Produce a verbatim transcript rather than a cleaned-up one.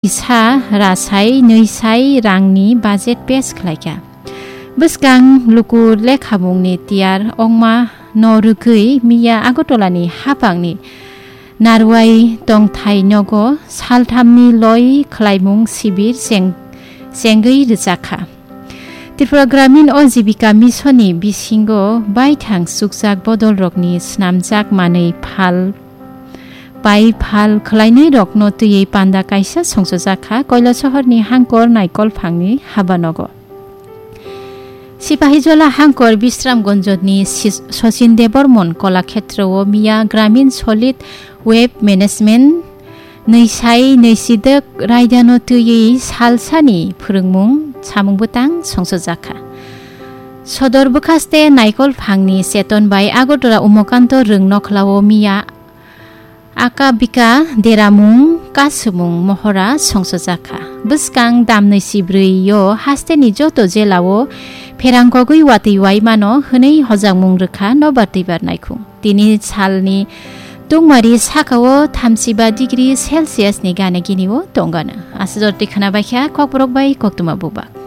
kisa rasai nwisai rangni budget pass khlaikha. Bwskang luku lekhamungni tiyar ongma no rwgwi miya Agartala ni haphangni Narwai tongthai nogo salthamni loi khlaimung sibir cheng-, chengwi rwjakha. Tripura Gramin Ajibika Mission ni bisingo baithang chukjak bodolrokni snamjak manwi phal pai phal khlainai rokno twiwi panda kaisa songchojak kha Koilasohor ni Hangkor Naikolphang ni habanogo. Sipahijola Hangkor Bisramganj ni Sis-, Sachin Debbarman Kolakhetra o miya Gramin Solid Waste Management nwisai nwisidok raidano twiwi salsani phwrwngmung samung bwtang songchojak kha. Sodor bwkhaste Naikolphang ni Cheton bai Agartala Umakanto Rwng Nokhlao miya Aka bika deramung kasumung mohora songchojak kha. Bwskang damnwi sibrwi yo haste ni joto jela o pherang kogwi watwi wai mano hwnwi hojagmung rwkha nobar twibar naikhung. Tini salni tungmari saka o thamsiba degree Celsius ni gana gini o tongano. Aswk jora twi khwna baikha Kokborok bai Koktwma Bubak.